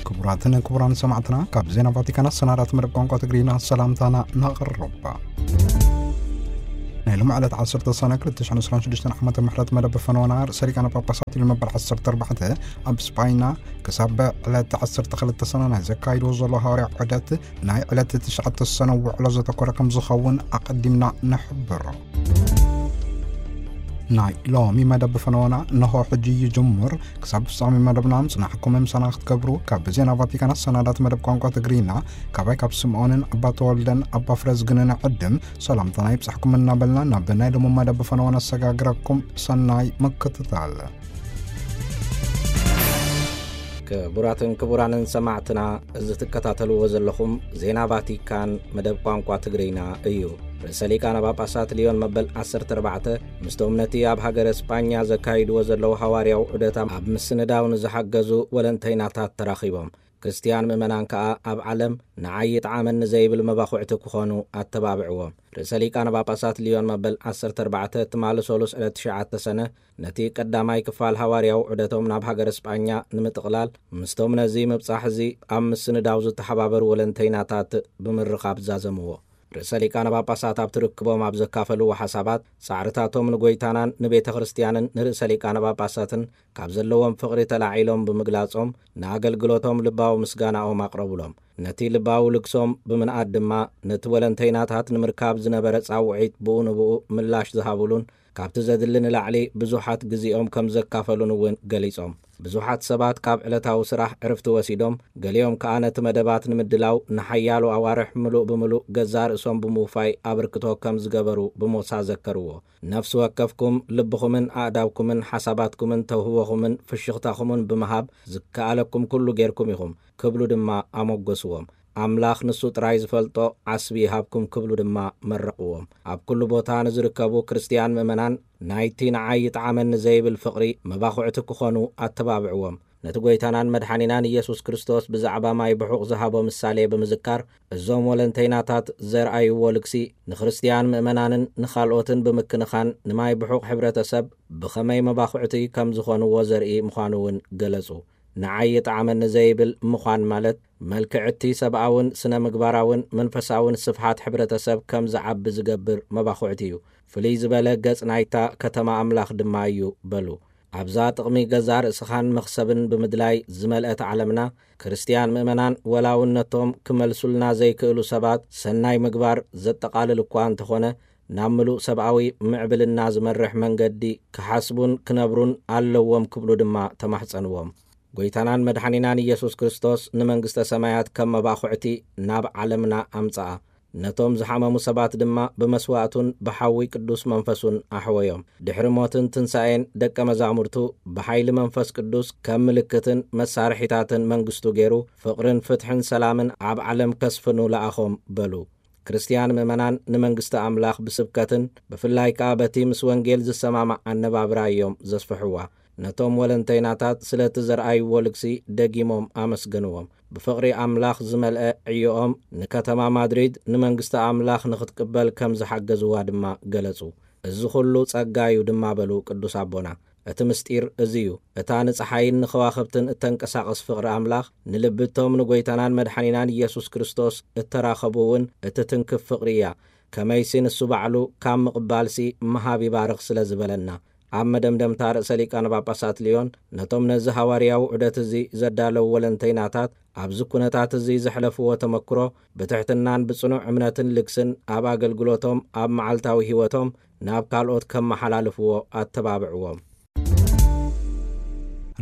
ክቡራትን ክቡራን ሰማዕትና፣ ካብ ዜና ቫቲካን ኣሰናዳት መደብ ቋንቋ ትግርኛ ሰላምታና ነቕርብ። ናይ ሎም ዕለት ዓሰርተ ሰነ ክልተ ሽሕን ዕስራን ሽዱሽተን ዓመተ ምሕረት መደብ ፈነወና ርእሰ ሊቃነ ጳጳሳት ሊዮ መበል ዓሰርተ ኣርባዕተ ኣብ ስጳይና ክሳብ ዕለት ዓሰርተ ክልተ ሰነ ናይ ዘካይድዎ ዘሎ ሃዋርያ ዑደት ናይ ዕለት ትሽዓተ ሰነ ውዕሎ ዘተኮረ ከም ዝኸውን ኣቐዲምና ንሕብሮ። ናይ ሎሚ መደብ ፈነወና ነሆ ሕጂ ይጅምር። ክሳብ ፍጻሜ መደብና ምጽናሕኩም ምሳና ክትገብሩ ካብ ዜና ቫቲካን ኣሰናዳት መደብ ቋንቋ ትግርኛ ካባይ ካብ ስምዖንን ኣባ ተወልደን ኣባ ፍረዝግንን ዕድም ሰላምታና ይብጻሕኩም እናበልና ናብ ናይ ሎሚ መደብ ፈነወና ኣሰጋግረኩም። ሰናይ ምክትታል። ክቡራትን ክቡራንን ሰማዕትና፣ እዚ ትከታተልዎ ዘለኹም ዜና ቫቲካን መደብ ቋንቋ ትግርኛ እዩ። ርእሰ ሊቃነ ጳጳሳት ሊዮን መበል ዓሰርተ ኣርባዕተ ምስቶም ነቲ ኣብ ሃገረ ስጳኛ ዘካይድዎ ዘለዉ ሃዋርያዊ ዑደት ኣብ ምስንዳው ንዝሓገዙ ወለንተይናታት ተራኺቦም። ክርስትያን ምእመናን ከኣ ኣብ ዓለም ንዓይ ይጥዓመኒ ዘይብል መባኹዕቲ ክኾኑ ኣተባብዕዎም። ርእሰ ሊቃነ ጳጳሳት ሊዮን መበል ዓሰርተ ኣርባዕተ ትማሊ ሰሉስ ዕለት ትሽዓተ ሰነ ነቲ ቀዳማይ ክፋል ሃዋርያዊ ዑደቶም ናብ ሃገረ ስጳኛ ንምጥቕላል ምስቶም ነዚ ምብጻሕ እዚ ኣብ ምስንዳው ዝተሓባበሩ ወለንተይናታት ብምርኻብ ዛዘምዎ። ርእሰ ሊቃነ ጳጳሳት ኣብ ትርክቦም ኣብ ዘካፈልዎ ሓሳባት፣ ጻዕርታቶም ንጎይታናን ንቤተ ክርስትያንን ንርእሰ ሊቃነ ጳጳሳትን ካብ ዘለዎም ፍቕሪ ተላዒሎም ብምግላጾም፣ ንኣገልግሎቶም ልባዊ ምስጋናኦም ኣቕረቡሎም። ነቲ ልባዊ ልግሶም ብምንኣድ ድማ፣ ነቲ ወለንተይናታት ንምርካብ ዝነበረ ጻውዒት ብኡ ንብኡ ምላሽ ዝሃቡሉን፣ ካብቲ ዘድሊ ንላዕሊ ብዙሓት ግዜኦም ከም ዘካፈሉን እውን ገሊጾም። ብዙሓት ሰባት ካብ ዕለታዊ ስራሕ ዕርፍቲ ወሲዶም፣ ገሊኦም ከኣ ነቲ መደባት ንምድላው ንሓያሎ ኣዋርሕ ምሉእ ብምሉእ ገዛእ ርእሶም ብምውፋይ ኣበርክቶ ከም ዝገበሩ ብሞሳ ዘከርዎ። ነፍሲ ወከፍኩም ልብኹምን ኣእዳውኩምን ሓሳባትኩምን ተውህቦኹምን ፍሽኽታኹምን ብምሃብ ዝከኣለኩም ኩሉ ጌርኩም ኢኹም ክብሉ ድማ ኣሞገስዎም። ኣምላኽ ንሱ ጥራይ ዝፈልጦ ዓስቢ ይሃብኩም ክብሉ ድማ መረቕዎም። ኣብ ኩሉ ቦታ ንዝርከቡ ክርስትያን ምእመናን ናይቲ ንዓይ ይጥዓመኒ ዘይብል ፍቕሪ መባኹዕቲ ክኾኑ ኣተባብዕዎም። ነቲ ጐይታናን መድሓኒናን ኢየሱስ ክርስቶስ ብዛዕባ ማይ ብሑቕ ዝሃቦ ምሳሌ ብምዝካር፣ እዞም ወለንተይናታት ዘርኣይዎ ልግሲ ንክርስትያን ምእመናንን ንኻልኦትን ብምክንኻን ንማይ ብሑቕ ሕብረተሰብ ብኸመይ መባኹዕቲ ከም ዝኾንዎ ዘርኢ ምዃኑ እውን ገለጹ። ንዓይ ይጥዓመኒ ዘይብል ምዃን ማለት፣ መልክዕ እቲ ሰብኣውን ስነ ምግባራውን መንፈሳውን ስፍሓት ሕብረተሰብ ከም ዝዓቢ ዝገብር መባኹዕቲ እዩ። ፍልይ ዝበለ ገጽ ናይታ ከተማ ኣምላኽ ድማ እዩ በሉ። ኣብዛ ጥቕሚ ገዛእ ርእስኻን መኽሰብን ብምድላይ ዝመልአት ዓለምና፣ ክርስትያን ምእመናን ወላ እውን ነቶም ክመልሱልና ዘይክእሉ ሰባት ሰናይ ምግባር ዘጠቓልል እኳ እንተኾነ፣ ናብ ምሉእ ሰብኣዊ ምዕብልና ዝመርሕ መንገዲ ክሓስቡን ክነብሩን ኣለዎም ክብሉ ድማ ተማሕጸንዎም። ጐይታናን መድሓኒናን ኢየሱስ ክርስቶስ ንመንግስተ ሰማያት ከም መባኹዕቲ ናብ ዓለምና ኣምጽኣ። ነቶም ዝሓመሙ ሰባት ድማ ብመስዋእቱን ብሓዊ ቅዱስ መንፈሱን ኣሕወዮም። ድሕሪ ሞትን ትንሳኤን ደቀ መዛሙርቱ ብሓይሊ መንፈስ ቅዱስ ከም ምልክትን መሳርሒታትን መንግስቱ ገይሩ ፍቕርን ፍትሕን ሰላምን ኣብ ዓለም ከስፍኑ ለኣኾም በሉ። ክርስትያን ምእመናን ንመንግስቲ ኣምላኽ ብስብከትን ብፍላይ ከኣ በቲ ምስ ወንጌል ዝሰማማዕ ኣነባብራ እዮም ዘስፍሕዋ። ነቶም ወለንተይናታት ስለቲ ዘርኣይዎ ልግሲ ደጊሞም ኣመስገንዎም። ብፍቕሪ ኣምላኽ ዝመልአ ዕዮኦም ንከተማ ማድሪድ ንመንግስቲ ኣምላኽ ንኽትቅበል ከም ዝሓገዝዋ ድማ ገለጹ። እዚ ኹሉ ጸጋ እዩ ድማ በሉ ቅዱስ ኣቦና። እቲ ምስጢር እዚ እዩ። እታ ንጸሓይን ንኸዋኽብትን እተንቀሳቕስ ፍቕሪ ኣምላኽ፣ ንልቢ እቶም ንጐይታናን መድሓኒናን ኢየሱስ ክርስቶስ እተራኸቡ እውን እትትንክፍ ፍቕሪ እያ። ከመይሲ ንሱ ባዕሉ ካብ ምቕባልሲ ምሃብ ይባርኽ ስለ ዝበለና። ኣብ መደምደምታ ርእሰ ሊቃነ ጳጳሳት ልዮን ነቶም ነዚ ሃዋርያዊ ዑደት እዚ ዘዳለዉ ወለንተይናታት ኣብዚ ኩነታት እዚ ዘሕለፍዎ ተመክሮ ብትሕትናን ብጽኑዕ እምነትን ልግስን ኣብ ኣገልግሎቶም ኣብ መዓልታዊ ህይወቶም ናብ ካልኦት ከመሓላልፍዎ ኣተባብዕዎም።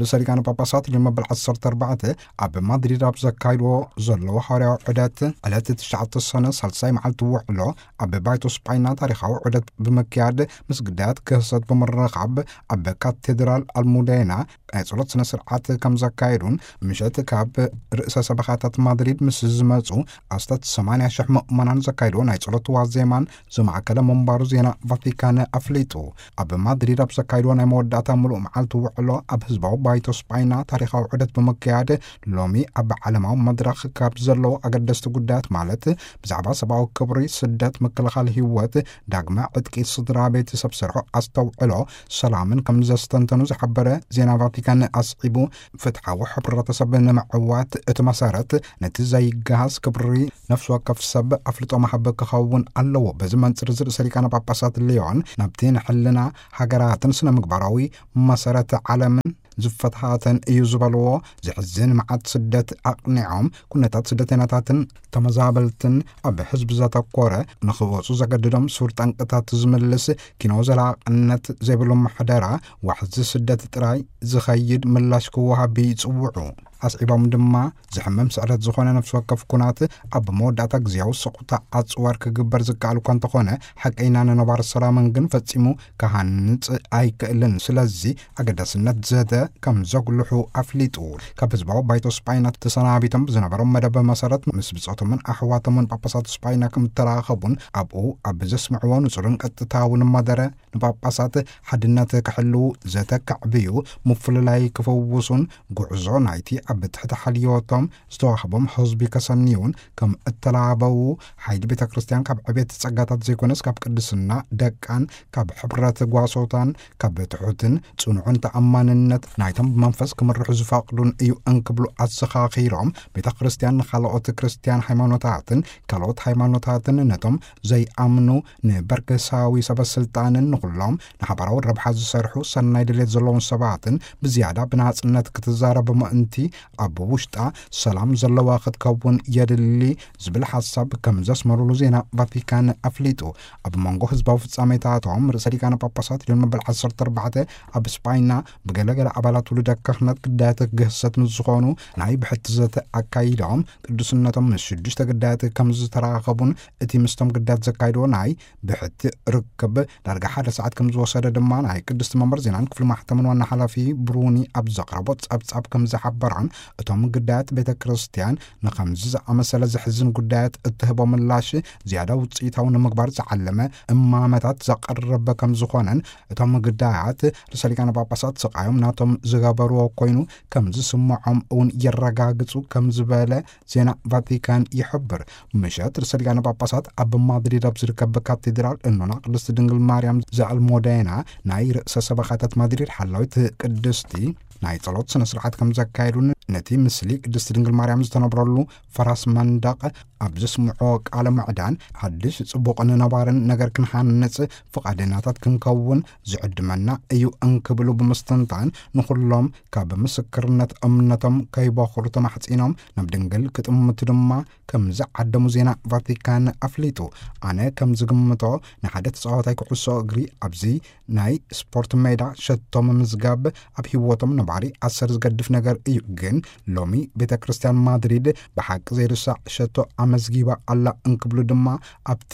ርእሰ ሊቃነ ጳጳሳት ልዮን መበል ዓሰርተ ኣርባዕተ ኣብ ማድሪድ ኣብ ዘካይድዎ ዘለዉ ሃዋርያዊ ዑደት ዕለት ትሽዓተ ሰነ ሳልሳይ መዓልቲ ውዕሎ ኣብ ባይቶ ስጳይና ታሪኻዊ ዑደት ብምክያድ ምስ ግዳያት ክህሰት ብምርኻብ ኣብ ካቴድራል ኣልሙዴና ናይ ጸሎት ስነ ስርዓት ከም ዘካየዱን ምሸት ካብ ርእሰ ሰበኻታት ማድሪድ ምስ ዝመጹ ኣስታት ሰማንያ ሽሕ ምእመናን ዘካየድዎ ናይ ጸሎት ዋዜማን ዘማእከለ ምንባሩ ዜና ቫቲካን ኣፍሊጡ። ኣብ ማድሪድ ኣብ ዘካየድዎ ናይ መወዳእታ ምሉእ መዓልቲ ውዕሎ ኣብ ህዝባዊ ባይቶ ስጳይና ታሪኻዊ ዑደት ብምክያድ ሎሚ ኣብ ዓለማዊ መድረኽ ካብ ዘለዉ ኣገደስቲ ጉዳያት ማለት ብዛዕባ ሰብኣዊ ክብሪ፣ ስደት፣ ምክልኻል ህይወት፣ ዳግመ ዕጥቂ ስድራ ቤት፣ ሰብ ስርሑ ኣስተውዕሎ፣ ሰላምን ከም ዘስተንተኑ ዝሓበረ ዜና ቫቲካን ቫቲካን ኣስዒቡ፣ ፍትሓዊ ሕብረተሰብ ንምዕዋት እቲ መሰረት ነቲ ዘይገሃስ ክብሪ ነፍሲ ወከፍ ሰብ ኣፍልጦ መሃብ ክኸውን ኣለዎ። በዚ መንጽር፣ እዚ ርእሰ ሊቃነ ጳጳሳት ሊዮን ናብቲ ንሕልና ሃገራትን ስነ ምግባራዊ መሰረት ዓለምን ዝፈትሓተን እዩ ዝበልዎ ዘሕዝን መዓት ስደት ኣቕኒዖም፣ ኩነታት ስደተኛታትን ተመዛበልትን ኣብ ህዝቢ ዘተኮረ፣ ንኽወፁ ዘገድዶም ሱር ጠንቅታት ዝምልስ ኪኖ ዘላቕነት ዘይብሉ ምሕደራ፣ ዋሕዚ ስደት ጥራይ ዝኸይድ ምላሽ ክወሃብ ይጽውዑ። ኣስዒቦም ድማ፣ ዝሕመም ስዕረት ዝኾነ ነፍሲ ወከፍ ኩናት ኣብ መወዳእታ ግዜያዊ ስቑታ ኣጽዋር ክግበር ዝከኣል እኳ እንተኾነ፣ ሓቀይና ንነባር ሰላምን ግን ፈጺሙ ክሃንጽ ኣይክእልን። ስለዚ ኣገዳስነት ዘተ ከም ዘጉልሑ ኣፍሊጡ። ካብ ህዝባዊ ባይቶ ስጳይና ተሰናቢቶም ብዝነበሮም መደብ መሰረት፣ ምስ ብጾቶምን ኣሕዋቶምን ጳጳሳት ስጳይና ከም እተራኸቡን ኣብኡ ኣብ ዘስምዕዎ ንጹርን ቀጥታውን መደረ ንጳጳሳት ሓድነት ክሕልዉ ዘተ ከዕብዩ፣ ምፍልላይ ክፈውሱን ጉዕዞ ናይቲ ኣብ ትሕቲ ሓልዮቶም ዝተዋህቦም ህዝቢ ከሰንዩን ከም እተላበዉ፣ ሓይሊ ቤተ ክርስቲያን ካብ ዕቤት ጸጋታት ዘይኮነስ ካብ ቅድስና ደቃን ካብ ሕብረት ጓሶታን ካብ ትሑትን ጽኑዕን ተኣማንነት ናይቶም ብመንፈስ ክምርሑ ዝፈቕዱን እዩ እንክብሉ ኣዘኻኺሮም፣ ቤተ ክርስቲያን ንኻልኦት ክርስቲያን ሃይማኖታትን ካልኦት ሃይማኖታትን ነቶም ዘይኣምኑ ንበርገሳዊ ሰበ ስልጣንን ንኹሎም ንሓባራዊ ረብሓ ዝሰርሑ ሰናይ ድሌት ዘለዎም ሰባትን ብዝያዳ ብናጽነት ክትዛረብ ምእንቲ ኣብ ውሽጣ ሰላም ዘለዋ ክትከውን የድሊ ዝብል ሓሳብ ከም ዘስመሩሉ ዜና ቫቲካን ኣፍሊጡ። ኣብ መንጎ ህዝባዊ ፍጻሜታቶም ርእሰ ሊቃነ ጳጳሳት ሊዮን መበል ዓሰርተ ኣርባዕተ ኣብ ስጳይና ብገለገለ ኣባላት ውሉደ ክህነት ግዳያት ግህሰት ምስ ዝኾኑ ናይ ብሕቲ ዘተ ኣካይዶም፣ ቅዱስነቶም ምስ ሽዱሽተ ግዳያት ከም ዝተራኸቡን እቲ ምስቶም ግዳያት ዘካይድዎ ናይ ብሕቲ ርክብ ዳርጋ ሓደ ሰዓት ከም ዝወሰደ ድማ ናይ ቅድስቲ መንበር ዜናን ክፍሊ ማሕተምን ዋና ሓላፊ ብሩኒ ኣብ ዘቕረቦ ጸብጻብ ከም ዝሓበራን፣ እቶም ግዳያት ቤተ ክርስቲያን ንኸምዚ ዝኣመሰለ ዘሕዝን ጉዳያት እትህቦ ምላሽ ዝያዳ ውጽኢታዊ ንምግባር ዝዓለመ እማመታት ዘቐረበ ከም ዝኾነን፣ እቶም ግዳያት ርእሰ ሊቃነ ጳጳሳት ስቓዮም ናቶም ዝገበርዎ ኮይኑ ከም ዝስምዖም እውን የረጋግጹ ከም ዝበለ ዜና ቫቲካን ይሕብር። ምሸት ርእሰ ሊቃነ ጳጳሳት ኣብ ማድሪድ ኣብ ዝርከብ ካቴድራል እኖና ቅድስቲ ድንግል ማርያም ዘኣልሞዴና ናይ ርእሰ ሰበኻታት ማድሪድ ሓላዊት ቅድስቲ ናይ ጸሎት ስነ ስርዓት ከም ዘካየዱን፣ ነቲ ምስሊ ቅድስቲ ድንግል ማርያም ዝተነብረሉ ፈራስ መንደቕ ኣብ ዘስምዖ ቃለ ምዕዳን፣ ሓድሽ ጽቡቕን ነባርን ነገር ክንሃንጽ ፍቓደኛታት ክንከውን ዝዕድመና እዩ እንክብሉ ብምስትንታን፣ ንኹሎም ካብ ምስክርነት እምነቶም ከይበኹሩ ተማሕጺኖም፣ ናብ ድንግል ክጥምቱ ድማ ከም ዝዓደሙ ዜና ቫቲካን ኣፍሊጡ። ኣነ ከም ዝግምቶ፣ ንሓደ ተጻዋታይ ኩዕሶ እግሪ ኣብዚ ናይ ስፖርት ሜዳ ሸቶ ምምዝጋብ ኣብ ህይወቶም ነባሪ ኣሰር ዝገድፍ ነገር እዩ። ግን ሎሚ ቤተ ክርስቲያን ማድሪድ ብሓቂ ዘይርሳዕ ሸቶ ኣመዝጊባ ኣላ እንክብሉ ድማ ኣብቲ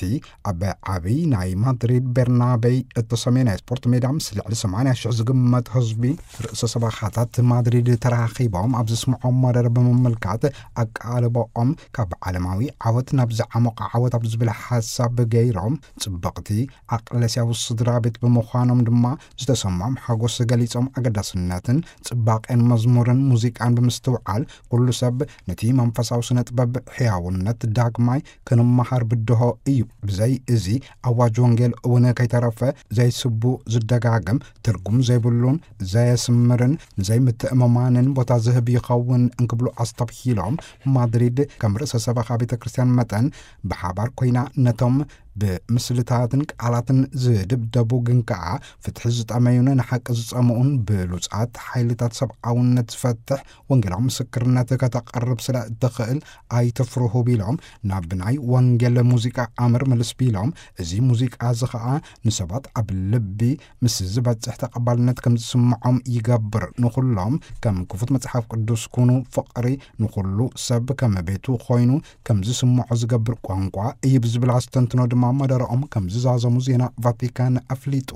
ኣብ ዓብዪ ናይ ማድሪድ ቤርናቤይ እተሰምየ ናይ ስፖርት ሜዳ ምስ ልዕሊ ሰማንያ ሽሕ ዝግመት ህዝቢ ርእሰ ሰበኻታት ማድሪድ ተራኺቦም ኣብ ዘስምዖም መደረ ብምምልካት፣ ኣቃልቦኦም ካብ ዓለማዊ ዓወት ናብ ዝዓሞቐ ዓወት ኣብ ዝብል ሓሳብ ገይሮም፣ ጽብቕቲ ኣቅለስያዊ ስድራ ቤት ብምዃኖም ድማ ዝተሰምዖም ሓጎስ ገሊጾም፣ ኣገዳስነትን ጽባቄን መዝሙርን ሙዚቃን ብምስትውዓል፣ ኩሉ ሰብ ነቲ መንፈሳዊ ስነ ጥበብ ሕያውነት ዳግማይ ክንመሃር ብድሆ እዩ። ብዘይ እዚ ኣዋጅ ወንጌል እውን ከይተረፈ ዘይስቡ ዝደጋግም፣ ትርጉም ዘይብሉን ዘየስምርን ንዘይምትእምማንን ቦታ ዝህብ ይኸውን እንክብሉ ኣስተብሂሎም፣ ማድሪድ ከም ርእሰ ሰበኻ ቤተ ክርስቲያን መጠን ብሓባር ኮይና ነቶም ብምስልታትን ቃላትን ዝድብደቡ ግን ከኣ ፍትሒ ዝጠመዩን ንሓቂ ዝጸምኡን ብሉጻት ሓይልታት ሰብኣውነት ዝፈትሕ ወንጌላዊ ምስክርነት ከተቕርብ ስለ እትኽእል ኣይትፍርሁ ቢሎም፣ ናብ ናይ ወንጌል ሙዚቃ ኣምር ምልስ ቢሎም፣ እዚ ሙዚቃ እዚ ኸኣ ንሰባት ኣብ ልቢ ምስ ዝበጽሕ ተቐባልነት ከም ዝስምዖም ይገብር። ንኹሎም ከም ክፉት መጽሓፍ ቅዱስ ኩኑ፣ ፍቕሪ ንኹሉ ሰብ ከም ቤቱ ኮይኑ ከም ዝስምዖ ዝገብር ቋንቋ እዩ ብዝብል ኣስተንትኖ ድማ መደረኦም ከም ዝዛዘሙ ዜና ቫቲካን ኣፍሊጡ።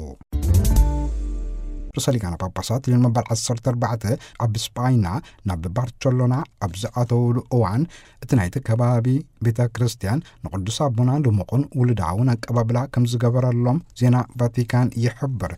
ርእሰ ሊቃነ ጳጳሳት ሊዮን መበል ዓሰርተ ኣርባዕተ ኣብ ስጳይና ናብ ባርቸሎና ኣብ ዝኣተውሉ እዋን፣ እቲ ናይቲ ከባቢ ቤተ ክርስቲያን ንቅዱስ ኣቦና ድሙቕን ውሉዳውን ኣቀባብላ ከም ዝገበረሎም ዜና ቫቲካን ይሕብር።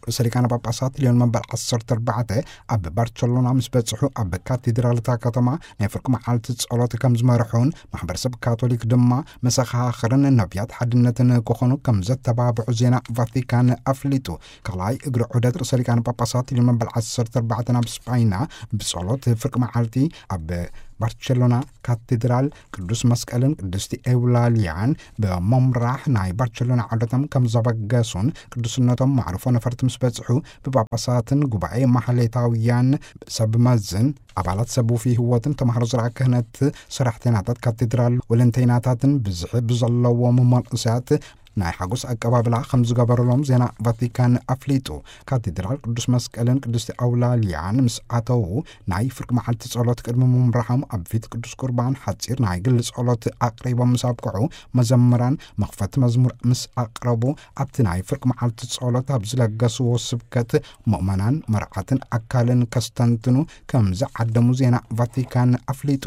ርእሰ ሊቃነ ጳጳሳት ሊዮን መበል ዓሰርተ ኣርባዕተ ኣብ ባርቸሎና ምስ በጽሑ፣ ኣብ ካቴድራል እታ ከተማ ናይ ፍርቂ መዓልቲ ጸሎት ከም ዝመርሑን፣ ማሕበረሰብ ካቶሊክ ድማ መሰኻኽርን ነቢያት ሓድነትን ክኾኑ ከም ዘተባብዑ ዜና ቫቲካን ኣፍሊጡ። ካልኣይ እግሪ ዑደት ርእሰ ሊቃነ ጳጳሳት ሊዮን መበል ዓሰርተ ኣርባዕተ ናብ ስጳይና ብጸሎት ፍርቂ መዓልቲ ኣብ ባርቸሎና ካቴድራል ቅዱስ መስቀልን ቅድስቲ ኤውላልያን ብምምራሕ ናይ ባርቸሎና ዑደቶም ከም ዘበገሱን፣ ቅዱስነቶም ማዕርፎ ነፈርቲ ምስ በጽሑ ብጳጳሳትን ጉባኤ ማሕሌታውያን ሰብ መዝን ኣባላት ሰብ ውፉይ ህይወትን ተማሃሮ ዝረኣ ክህነት ሰራሕተይናታት ካቴድራል ወለንተይናታትን ብዝሒ ብዘለዎም መንእሰያት ናይ ሓጎስ ኣቀባብላ ከም ዝገበረሎም ዜና ቫቲካን ኣፍሊጡ። ካቴድራል ቅዱስ መስቀልን ቅድስቲ ኣውላልያን ምስ ኣተዉ ናይ ፍርቂ መዓልቲ ጸሎት ቅድሚ ምምራሖም ኣብ ፊት ቅዱስ ቁርባን ሓጺር ናይ ግሊ ጸሎት ኣቕሪቦም ምስ ኣብቅዑ፣ መዘምራን መኽፈቲ መዝሙር ምስ ኣቕረቡ፣ ኣብቲ ናይ ፍርቂ መዓልቲ ጸሎት ኣብ ዝለገስዎ ስብከት፣ ምእመናን መርዓትን ኣካልን ከስተንትኑ ከም ዝዓደሙ ዜና ቫቲካን ኣፍሊጡ።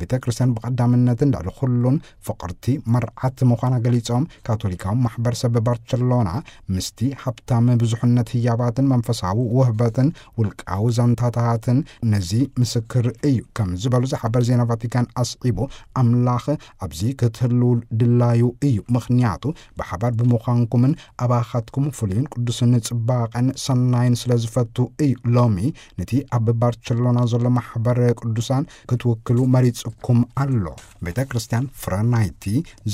ቤተ ክርስቲያን ብቐዳምነትን ልዕሊ ኩሉን ፍቕርቲ መርዓት ምዃና ገሊጾም፣ ካቶሊካዊ ማሕበረሰብ ባርቸሎና ምስቲ ሃብታም ብዙሕነት ህያባትን መንፈሳዊ ውህበትን ውልቃዊ ዛንታታትን ነዚ ምስክር እዩ ከም ዝበሉ ዝሓበር ዜና ቫቲካን ኣስዒቡ፣ ኣምላኽ ኣብዚ ክትህልው ድላዩ እዩ፣ ምኽንያቱ ብሓባር ብምዃንኩምን ኣባኻትኩም ፍሉይን ቅዱስን ጽባቐን ሰናይን ስለ ዝፈቱ እዩ። ሎሚ ነቲ ኣብ ባርቸሎና ዘሎ ማሕበር ቅዱሳን ክትውክሉ መሪጽኩም ኣሎ። ቤተ ክርስቲያን ፍረ ናይቲ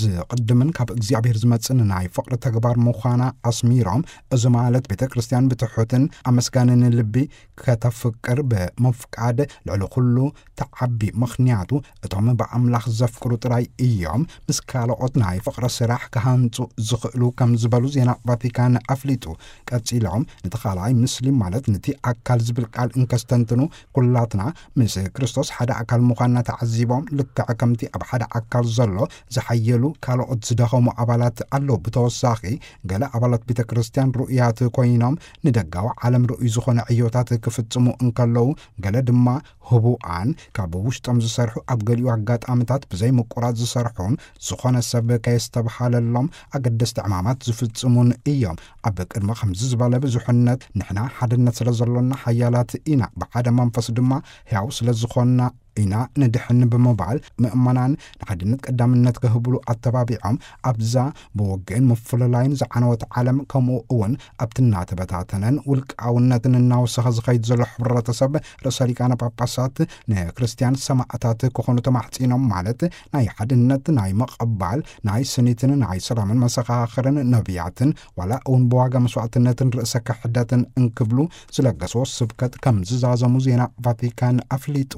ዝቕድምን ካብ እግዚኣብሔር ዝመጽእን ናይ ፍቕሪ ተግባር ምዃና ኣስሚሮም፣ እዚ ማለት ቤተ ክርስቲያን ብትሑትን ኣመስጋንን ልቢ ከተፍቅር፣ ብምፍቃድ ልዕሊ ኩሉ ተዓቢ፣ ምኽንያቱ እቶም ብኣምላኽ ዘፍቅሩ ጥራይ እዮም ምስ ካልኦት ናይ ፍቕሪ ስራሕ ክሃንጹ ዝኽእሉ ከም ዝበሉ ዜና ቫቲካን ኣፍሊጡ። ቀጺሎም፣ ነቲ ካልኣይ ምስሊ ማለት ነቲ ኣካል ዝብል ቃል እንከስተንትኑ፣ ኩላትና ምስ ክርስቶስ ሓደ ኣካል ምዃንና ተዓዚቦም፣ ልክዕ ከምቲ ኣብ ሓደ ኣካል ዘሎ ዝሓየሉ ካልኦት ዝደኸሙ ኣባላት ኣለዉ። ብተወሳኺ፣ ገለ ኣባላት ቤተ ክርስቲያን ርኡያት ኮይኖም ንደጋዊ ዓለም ርኡይ ዝኾነ ዕዮታት ክፍጽሙ እንከለዉ፣ ገለ ድማ ህቡኣን ካብ ውሽጦም ዝሰርሑ፣ ኣብ ገሊኡ ኣጋጣምታት ብዘይ ምቁራጽ ዝሰርሑን ዝኾነ ሰብ ከየስተብሃለሎም ኣገደስቲ ዕማማት ዝፍጽሙን እዮም። ኣብ ቅድሚ ከምዚ ዝበለ ብዙሕነት ንሕና ሓድነት ስለ ዘሎና ሓያላት ኢና፣ ብሓደ መንፈስ ድማ ሕያው ስለ ዝኾንና ኢና ንድሕን ብምባል፣ ምእመናን ንሓድነት ቀዳምነት ክህብሉ ኣተባቢዖም፣ ኣብዛ ብውግእን ምፍልላይን ዝዓነወት ዓለም፣ ከምኡ እውን ኣብቲ እናተበታተነን ውልቃውነትን እናወሰኸ ዝኸይድ ዘሎ ሕብረተሰብ፣ ርእሰ ሊቃነ ጳጳሳት ንክርስትያን ሰማእታት ክኾኑ ተማሕጺኖም፣ ማለት ናይ ሓድነት፣ ናይ ምቕባል፣ ናይ ስኒትን ናይ ሰላምን መሰኻኽርን ነቢያትን፣ ዋላ እውን ብዋጋ መስዋዕትነትን ርእሰ ክሕደትን እንክብሉ ዝለገስዎ ስብከት ከም ዝዛዘሙ ዜና ቫቲካን ኣፍሊጡ።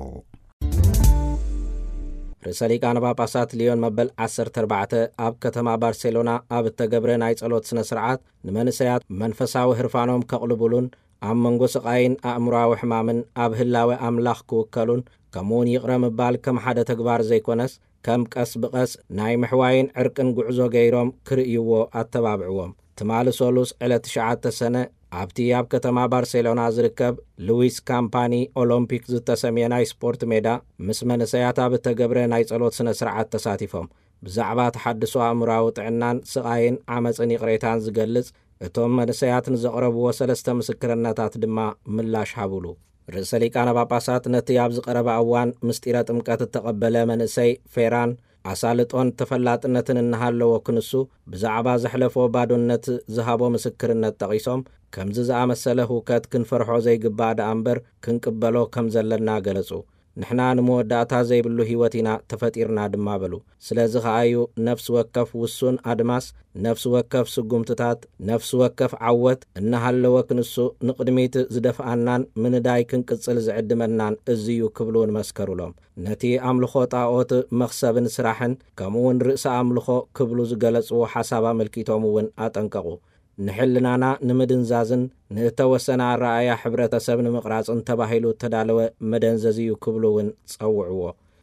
ርእሰ ሊቃነ ጳጳሳት ሊዮን መበል ዓሰርተ ኣርባዕተ ኣብ ከተማ ባርሴሎና ኣብ እተገብረ ናይ ጸሎት ስነ ስርዓት፣ ንመንእሰያት መንፈሳዊ ህርፋኖም ከቕልቡሉን ኣብ መንጎ ስቓይን ኣእምሮኣዊ ሕማምን ኣብ ህላወ ኣምላኽ ክውከሉን፣ ከምኡውን ይቕረ ምባል ከም ሓደ ተግባር ዘይኮነስ፣ ከም ቀስ ብቐስ ናይ ምሕዋይን ዕርቅን ጉዕዞ ገይሮም ክርእይዎ ኣተባብዕዎም። ትማሊ ሰሉስ ዕለት ትሽዓተ ሰነ፣ ኣብቲ ኣብ ከተማ ባርሴሎና ዝርከብ ሉዊስ ካምፓኒ ኦሎምፒክ ዝተሰምየ ናይ ስፖርት ሜዳ፣ ምስ መንእሰያት ኣብ እተገብረ ናይ ጸሎት ስነ ስርዓት ተሳቲፎም። ብዛዕባ ተሓድሶ ኣእምሮኣዊ ጥዕናን ስቓይን ዓመጽን ይቕሬታን ዝገልጽ፣ እቶም መንእሰያት ንዘቕረብዎ ሰለስተ ምስክርነታት ድማ ምላሽ ሃቡሉ። ርእሰ ሊቃነ ጳጳሳት ነቲ ኣብዚ ቀረባ እዋን ምስጢረ ጥምቀት እተቐበለ መንእሰይ ፌራን፣ ኣሳልጦን ተፈላጥነትን እናሃለዎ ክንሱ፣ ብዛዕባ ዘሕለፎ ባዶነት ዝሃቦ ምስክርነት ጠቒሶም፣ ከምዚ ዝኣመሰለ ህውከት ክንፈርሖ ዘይግባእ ደኣ እምበር፣ ክንቅበሎ ከም ዘለና ገለጹ። ንሕና ንመወዳእታ ዘይብሉ ህይወት ኢና ተፈጢርና ድማ በሉ። ስለዚ ኸኣዩ ነፍሲ ወከፍ ውሱን ኣድማስ፣ ነፍሲ ወከፍ ስጉምትታት፣ ነፍሲ ወከፍ ዓወት እናሃለወ ክንሱ ንቕድሚት ዝደፍኣናን ምንዳይ ክንቅጽል ዝዕድመናን እዚዩ ክብሉ ንመስከሩሎም። ነቲ ኣምልኾ ጣኦት መኽሰብን ስራሕን፣ ከምኡውን ርእሰ ኣምልኾ ክብሉ ዝገለጽዎ ሓሳብ ኣመልኪቶም እውን ኣጠንቀቑ። ንሕልናና ንምድንዛዝን ንእተወሰነ ኣረኣእያ ሕብረተሰብ ንምቕራጽን ተባሂሉ እተዳለወ መደንዘዚ እዩ ክብሉ እውን ጸውዕዎ።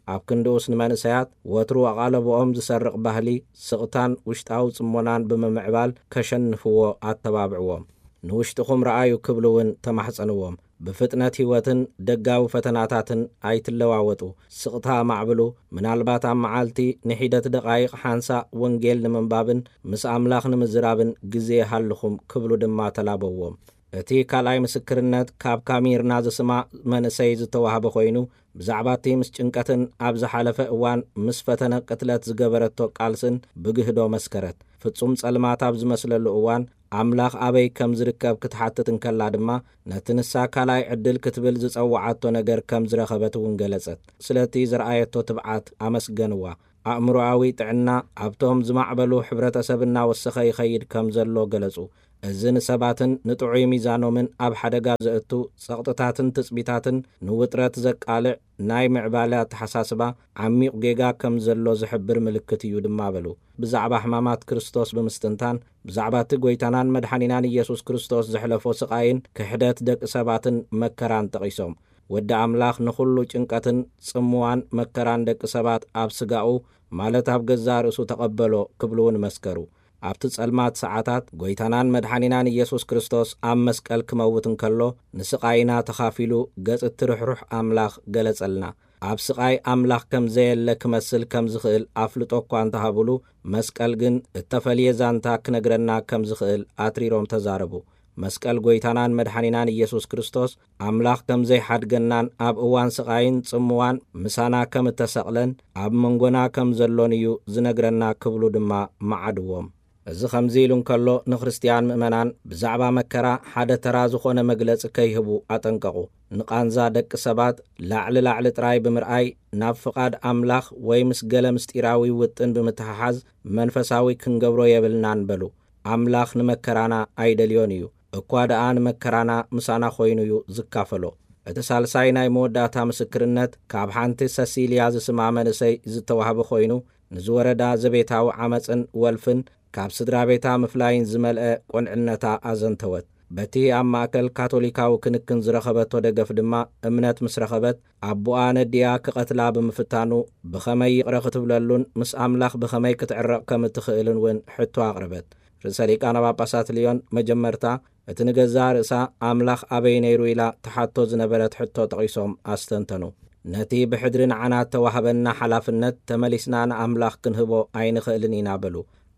ኣብ ክንድኡስ ንመንእሰያት ወትሩ ኣቓለብኦም ዝሰርቕ ባህሊ፣ ስቕታን ውሽጣዊ ጽሞናን ብምምዕባል ከሸንፍዎ ኣተባብዕዎም። ንውሽጥኹም ረኣዩ ክብሉ እውን ተማሕጸንዎም። ብፍጥነት ህይወትን ደጋዊ ፈተናታትን ኣይትለዋወጡ። ስቕታ ኣማዕብሉ። ምናልባት ኣብ መዓልቲ ንሒደት ደቓይቕ ሓንሳእ ወንጌል ንምንባብን ምስ ኣምላኽ ንምዝራብን ግዜ ይሃልኹም ክብሉ ድማ ተላበዎም። እቲ ካልኣይ ምስክርነት ካብ ካሚርና ዝስማ መንእሰይ ዝተዋህበ ኮይኑ፣ ብዛዕባ እቲ ምስ ጭንቀትን ኣብ ዝሓለፈ እዋን ምስ ፈተነ ቅትለት ዝገበረቶ ቃልስን ብግህዶ መስከረት። ፍጹም ጸልማት ኣብ ዝመስለሉ እዋን፣ ኣምላኽ ኣበይ ከም ዝርከብ ክትሓትት እንከላ ድማ፣ ነቲ ንሳ ካልኣይ ዕድል ክትብል ዝጸውዓቶ ነገር ከም ዝረኸበት እውን ገለጸት። ስለቲ ዝረኣየቶ ትብዓት ኣመስገንዋ። ኣእምሮኣዊ ጥዕና ኣብቶም ዝማዕበሉ ሕብረተሰብ እናወሰኸ ይኸይድ ከም ዘሎ ገለጹ። እዚ ንሰባትን ንጥዑይ ሚዛኖምን ኣብ ሓደጋ ዘእቱ ጸቕጥታትን ትጽቢታትን ንውጥረት ዘቃልዕ ናይ ምዕባለ ኣተሓሳስባ ዓሚቕ ጌጋ ከም ዘሎ ዝሕብር ምልክት እዩ ድማ በሉ። ብዛዕባ ሕማማት ክርስቶስ ብምስትንታን፣ ብዛዕባ እቲ ጐይታናን መድሓኒናን ኢየሱስ ክርስቶስ ዘሕለፎ ስቓይን ክሕደት ደቂ ሰባትን መከራን ጠቒሶም፣ ወዲ ኣምላኽ ንኹሉ ጭንቀትን ጽምዋን መከራን ደቂ ሰባት ኣብ ስጋኡ፣ ማለት ኣብ ገዛእ ርእሱ ተቐበሎ ክብሉ እውን መስከሩ። ኣብቲ ጸልማት ሰዓታት፣ ጐይታናን መድሓኒናን ኢየሱስ ክርስቶስ ኣብ መስቀል ክመውት እንከሎ፣ ንስቓይና ተኻፊሉ ገጽ እትርሕሩሕ ኣምላኽ ገለጸልና። ኣብ ስቓይ ኣምላኽ ከም ዘየለ ክመስል ከም ዝኽእል ኣፍልጦ እኳ እንተሃቡሉ፣ መስቀል ግን እተፈልየ ዛንታ ክነግረና ከም ዝኽእል ኣትሪሮም ተዛረቡ። መስቀል ጐይታናን መድሓኒናን ኢየሱስ ክርስቶስ፣ ኣምላኽ ከም ዘይሓድገናን ኣብ እዋን ስቓይን ጽምዋን ምሳና ከም እተሰቕለን ኣብ መንጎና ከም ዘሎን እዩ ዝነግረና ክብሉ ድማ መዓድዎም። እዚ ከምዚ ኢሉ እንከሎ፣ ንክርስትያን ምእመናን ብዛዕባ መከራ ሓደ ተራ ዝኾነ መግለጺ ከይህቡ ኣጠንቀቑ። ንቃንዛ ደቂ ሰባት ላዕሊ ላዕሊ ጥራይ ብምርኣይ፣ ናብ ፍቓድ ኣምላኽ ወይ ምስ ገለ ምስጢራዊ ውጥን ብምትሕሓዝ መንፈሳዊ ክንገብሮ የብልናን በሉ። ኣምላኽ ንመከራና ኣይደልዮን እዩ፣ እኳ ደኣ ንመከራና ምሳና ኾይኑ እዩ ዝካፈሎ። እቲ ሳልሳይ ናይ መወዳእታ ምስክርነት ካብ ሓንቲ ሰሲልያ ዝስማ መንእሰይ ዝተዋህበ ኮይኑ፣ ንዝወረዳ ዘቤታዊ ዓመጽን ወልፍን ካብ ስድራ ቤታ ምፍላይን ዝመልአ ቁንዕነታ ኣዘንተወት። በቲ ኣብ ማእከል ካቶሊካዊ ክንክን ዝረኸበቶ ደገፍ ድማ እምነት ምስ ረኸበት፣ ኣቦኣ ነዲኣ ክቐትላ ብምፍታኑ ብኸመይ ይቕረ ክትብለሉን ምስ ኣምላኽ ብኸመይ ክትዕረቕ ከም እትኽእልን እውን ሕቶ ኣቕረበት። ርእሰ ሊቃነ ጳጳሳት ልዮን መጀመርታ እቲ ንገዛእ ርእሳ ኣምላኽ ኣበይ ነይሩ ኢላ ትሓቶ ዝነበረት ሕቶ ጠቒሶም ኣስተንተኑ። ነቲ ብሕድሪ ንዓና እተዋህበና ሓላፍነት ተመሊስና ንኣምላኽ ክንህቦ ኣይንኽእልን ኢና በሉ።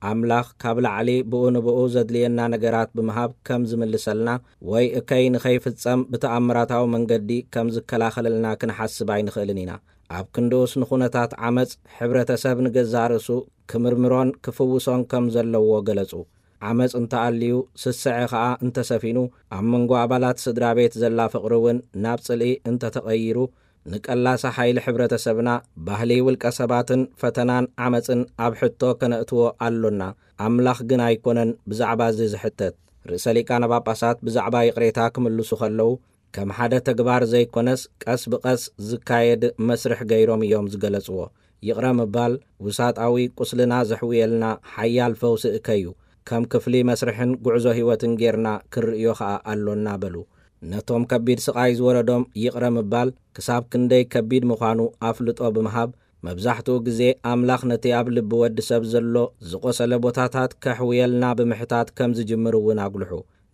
ኣምላኽ ካብ ላዕሊ ብኡ ንብኡ ዘድልየና ነገራት ብምሃብ ከም ዝምልሰልና ወይ እከይ ንኸይፍጸም ብተኣምራታዊ መንገዲ ከም ዝከላኸለልና ክንሓስብ ኣይንኽእልን ኢና። ኣብ ክንድኡስ ንኹነታት ዓመጽ ሕብረተሰብ ንገዛእ ርእሱ ክምርምሮን ክፍውሶን ከም ዘለዎ ገለጹ። ዓመጽ እንተኣልዩ፣ ስስዐ ኸኣ እንተሰፊኑ፣ ኣብ መንጎ ኣባላት ስድራ ቤት ዘላ ፍቕሪ እውን ናብ ጽልኢ እንተተቐይሩ፣ ንቀላሲ ሓይሊ ሕብረተሰብና፣ ባህሊ ውልቀ ሰባትን ፈተናን ዓመጽን ኣብ ሕቶ ከነእትዎ ኣሎና። ኣምላኽ ግን ኣይኮነን ብዛዕባ እዚ ዝሕተት። ርእሰ ሊቃነ ጳጳሳት ብዛዕባ ይቕሬታ ክምልሱ ከለዉ፣ ከም ሓደ ተግባር ዘይኮነስ ቀስ ብቐስ ዝካየድ መስርሕ ገይሮም እዮም ዝገለጽዎ። ይቕረ ምባል ውሳጣዊ ቁስልና ዘሕውየልና ሓያል ፈውሲ እከዩ። ከም ክፍሊ መስርሕን ጉዕዞ ህይወትን ጌርና ክንርእዮ ኸኣ ኣሎና በሉ። ነቶም ከቢድ ስቓይ ዝወረዶም ይቕረ ምባል ክሳብ ክንደይ ከቢድ ምዃኑ ኣፍልጦ ብምሃብ፣ መብዛሕትኡ ግዜ ኣምላኽ ነቲ ኣብ ልቢ ወዲ ሰብ ዘሎ ዝቖሰለ ቦታታት ከሕውየልና ብምሕታት ከም ዝጅምር እውን ኣጉልሑ።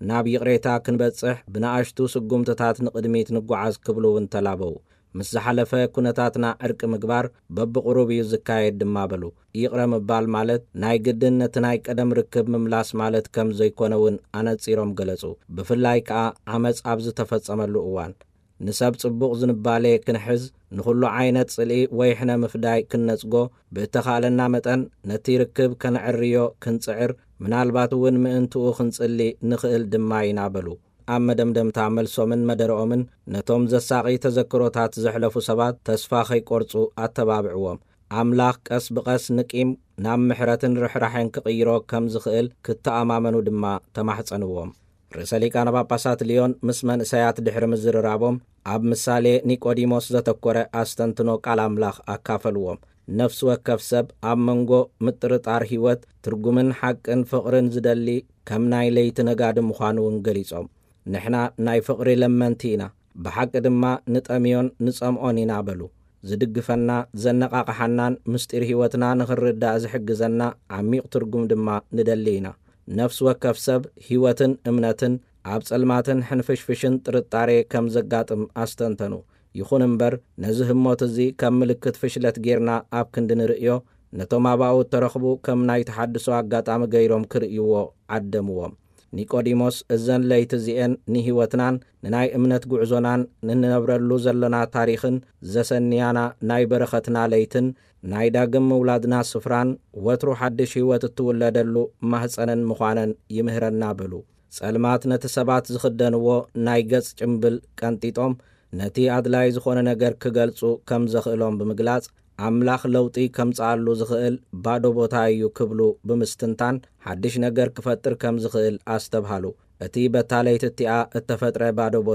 ናብ ይቕሬታ ክንበጽሕ ብንኣሽቱ ስጉምትታት ንቕድሚት ንጓዓዝ ክብሉ እውን ተላበዉ። ምስ ዝሓለፈ ኩነታትና ዕርቂ ምግባር በብቕሩብ እዩ ዝካየድ ድማ በሉ። ይቕረ ምባል ማለት ናይ ግድን ነቲ ናይ ቀደም ርክብ ምምላስ ማለት ከም ዘይኮነ እውን ኣነጺሮም ገለጹ። ብፍላይ ከኣ ዓመጽ ኣብ ዝተፈጸመሉ እዋን። ንሰብ ጽቡቕ ዝንባሌ ክንሕዝ፣ ንኹሉ ዓይነት ጽልኢ ወይ ሕነ ምፍዳይ ክንነጽጎ፣ ብእተኻእለና መጠን ነቲ ርክብ ከነዕርዮ ክንጽዕር፣ ምናልባት እውን ምእንትኡ ክንጽሊ ንኽእል ድማ ኢና በሉ። ኣብ መደምደምታ መልሶምን መደረኦምን ነቶም ዘሳቒ ተዘክሮታት ዘሕለፉ ሰባት ተስፋ ከይቆርጹ ኣተባብዕዎም። ኣምላኽ ቀስ ብቐስ ንቂም ናብ ምሕረትን ርሕራሕን ክቕይሮ ከም ዝኽእል ክተኣማመኑ ድማ ተማሕጸንዎም። ርእሰ ሊቃነ ጳጳሳት ልዮን ምስ መንእሰያት ድሕሪ ምዝርራቦም፣ ኣብ ምሳሌ ኒቆዲሞስ ዘተኮረ ኣስተንትኖ ቃል ኣምላኽ ኣካፈልዎም። ነፍሲ ወከፍ ሰብ ኣብ መንጎ ምጥርጣር ህይወት፣ ትርጉምን ሓቅን ፍቕርን ዝደሊ ከም ናይ ለይቲ ነጋዲ ምዃኑ እውን ገሊጾም። ንሕና ናይ ፍቕሪ ለመንቲ ኢና፣ ብሓቂ ድማ ንጠምዮን ንጸምኦን ኢና በሉ። ዝድግፈና፣ ዘነቓቕሓናን ምስጢር ህይወትና ንኽንርዳእ ዝሕግዘና ዓሚቕ ትርጉም ድማ ንደሊ ኢና። ነፍሲ ወከፍ ሰብ ህይወትን እምነትን ኣብ ጸልማትን ሕንፍሽፍሽን ጥርጣሬ ከም ዘጋጥም ኣስተንተኑ። ይኹን እምበር፣ ነዚ ህሞት እዚ ከም ምልክት ፍሽለት ጌርና ኣብ ክንዲ ንርእዮ፣ ነቶም ኣባኡ እተረኽቡ ከም ናይ ተሓድሶ ኣጋጣሚ ገይሮም ክርእይዎ ዓደምዎም። ኒቆዲሞስ፣ እዘን ለይቲ እዚኤን ንህይወትናን ንናይ እምነት ጉዕዞናን፣ ንንነብረሉ ዘለና ታሪኽን ዘሰንያና ናይ በረኸትና ለይትን ናይ ዳግም ምውላድና ስፍራን፣ ወትሩ ሓድሽ ህይወት እትውለደሉ ማህፀንን ምዃነን ይምህረና በሉ። ጸልማት ነቲ ሰባት ዝኽደንዎ ናይ ገጽ ጭምብል ቀንጢጦም፣ ነቲ ኣድላይ ዝኾነ ነገር ክገልጹ ከም ዘኽእሎም ብምግላጽ፣ ኣምላኽ ለውጢ ከምጽኣሉ ዝኽእል ባዶ ቦታ እዩ ክብሉ ብምስትንታን፣ ሓድሽ ነገር ክፈጥር ከም ዝኽእል ኣስተብሃሉ። እቲ በታ ለይቲ እቲኣ እተፈጥረ ባዶ ቦታ